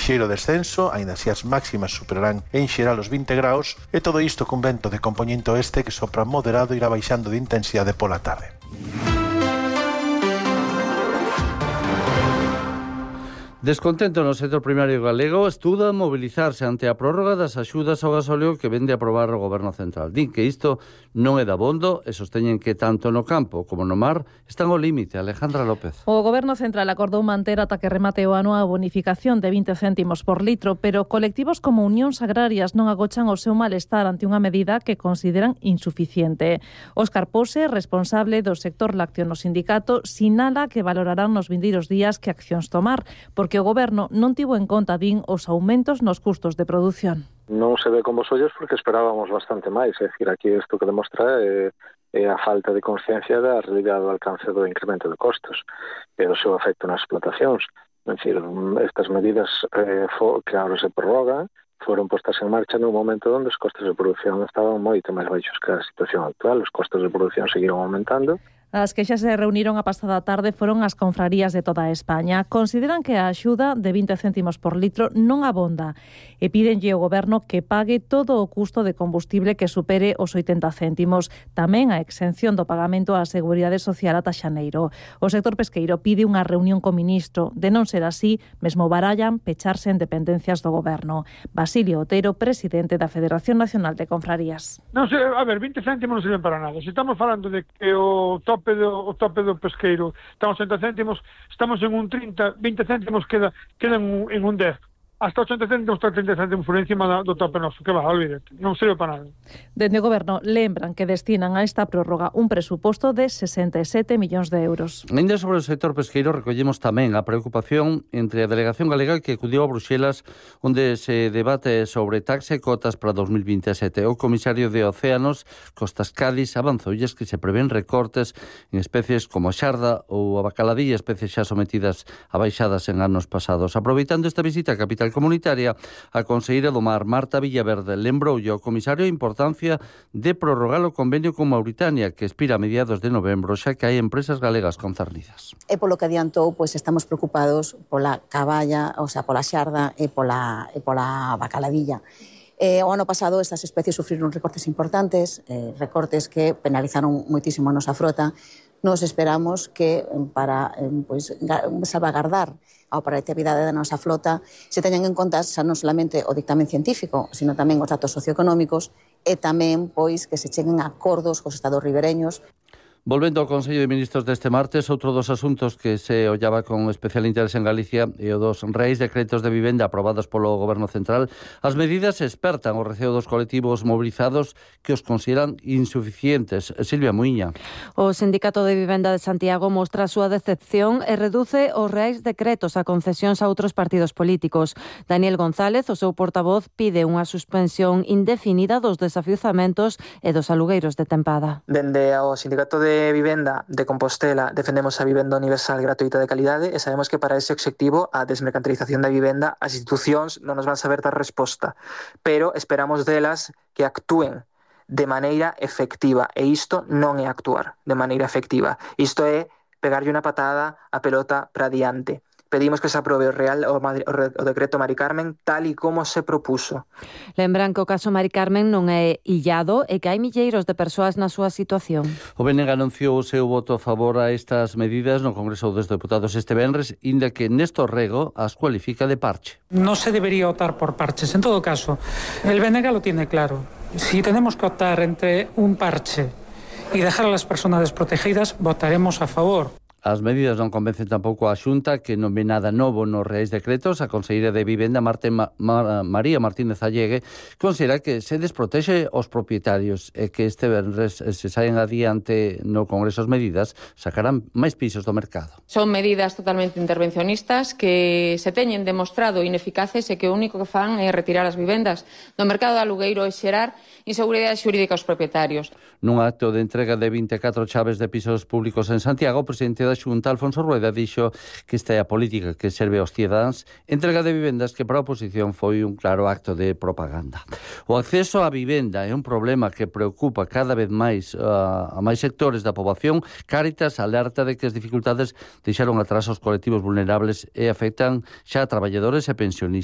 lixeiro descenso, aínda así as máximas superarán en xeral os 20 graus, e todo isto cun vento de compoñente oeste que sopra moderado e irá baixando de intensidade pola tarde. Descontento no sector primario galego estuda mobilizarse ante a prórroga das axudas ao gasóleo que vende a aprobar o Goberno Central. Din que isto non é dabondo e sosteñen que tanto no campo como no mar están ao límite. Alejandra López. O Goberno Central acordou manter ata que remate o ano a bonificación de 20 céntimos por litro, pero colectivos como Unións Agrarias non agochan o seu malestar ante unha medida que consideran insuficiente. Óscar Pose, responsable do sector lácteo no sindicato, sinala que valorarán nos vindeiros días que accións tomar, porque o Goberno non tivo en conta, din, os aumentos nos custos de produción. Non se ve con vos ollos porque esperábamos bastante máis, é dicir, aquí isto que demostra é a falta de consciencia da realidade do alcance do incremento de costos e do seu efecto nas explotacións. É dicir, estas medidas que agora se prorrogan foron postas en marcha nun momento onde os costos de produción estaban moito máis baixos que a situación actual. Os costos de produción seguiron aumentando. As que xa se reuniron a pasada tarde foron as confrarías de toda España. Consideran que a axuda de 20 céntimos por litro non abonda e pídenlle ao Goberno que pague todo o custo de combustible que supere os 80 céntimos. Tamén a exención do pagamento á Seguridade Social ata xaneiro. O sector pesqueiro pide unha reunión co ministro. De non ser así, mesmo barallan pecharse en dependencias do Goberno. Basilio Otero, presidente da Federación Nacional de Confrarías. Non sei, a ver, 20 céntimos non sirven para nada. Se estamos falando de que o tope do pesqueiro estamos 80 céntimos, estamos en un 30, 20 céntimos quedan en un 10. Hasta 80 céntimos, hasta 30 céntimos por encima do tope noso, que va, olvídate, non serve para nada. Dende o Goberno lembran que destinan a esta prórroga un presuposto de 67 millóns de euros. Ainda sobre o sector pesqueiro recollemos tamén a preocupación entre a delegación galega que acudiu a Bruxelas onde se debate sobre taxa e cotas para 2027. O comisario de Océanos, Costas Cádiz, avanzoulles que se prevén recortes en especies como a xarda ou a bacaladilla, especies xa sometidas a baixadas en anos pasados. Aproveitando esta visita a capital comunitaria, a conselleira do Mar, Marta Villaverde, lembroulle ao comisario a importancia de prorrogar o convenio con Mauritania, que expira a mediados de novembro, xa que hai empresas galegas concernidas. E polo que adiantou, pois estamos preocupados pola caballa, o sea, pola xarda e pola bacaladilla. O ano pasado estas especies sufriron recortes importantes, recortes que penalizaron moitísimo a nosa frota. Nos esperamos que para salvagardar a operatividade da nosa flota se teñan en conta xa non solamente o dictamen científico, sino tamén os datos socioeconómicos e tamén pois que se cheguen a acordos cos estados ribereños. Volvendo ao Consello de Ministros deste martes, outro dos asuntos que se ollaba con especial interese en Galicia e o dos reis decretos de vivenda aprobados polo Goberno Central. As medidas espertan o receo dos colectivos mobilizados que os consideran insuficientes. Silvia Muiña. O Sindicato de Vivenda de Santiago mostra a súa decepción e reduce os reis decretos a concesións a outros partidos políticos. Daniel González, o seu portavoz, pide unha suspensión indefinida dos desafiuzamentos e dos alugueiros de tempada. Dende ao Sindicato de Vivenda de Compostela defendemos a vivenda universal gratuita de calidade e sabemos que para ese obxectivo a desmercantilización da vivenda as institucións non nos van saber dar resposta, pero esperamos delas que actúen de maneira efectiva e isto non é actuar de maneira efectiva, isto é pegarlle unha patada a pelota para diante. Pedimos que se aprobe o decreto Mari Carmen tal e como se propuso. Lembran que o caso Mari Carmen non é illado e que hai milleiros de persoas na súa situación. O BNG anunciou o seu voto a favor a estas medidas no Congreso dos Deputados este venres, inda que Néstor Rego as cualifica de parche. No se debería optar por parches. En todo caso, el BNG lo tiene claro. Si tenemos que optar entre un parche y dejar a las personas desprotegidas, votaremos a favor. As medidas non convencen tampouco a Xunta, que non ve nada novo nos reais decretos. A conselleira de Vivenda, María Martínez Allegue, considera que se desprotexe os propietarios e que este venres se saen adiante no Congreso as medidas, sacarán máis pisos do mercado. Son medidas totalmente intervencionistas que se teñen demostrado ineficaces e que o único que fan é retirar as vivendas do mercado de alugueiro e xerar inseguridade xurídica aos propietarios. Nun acto de entrega de 24 chaves de pisos públicos en Santiago, o presidente da Xunta, Alfonso Rueda, dixo que esta é a política que serve aos cidadáns, entrega de vivendas que para a oposición foi un claro acto de propaganda. O acceso á vivenda é un problema que preocupa cada vez máis a máis sectores da poboación. Cáritas alerta de que as dificultades deixaron atrás aos colectivos vulnerables e afectan xa a traballadores e pensionistas.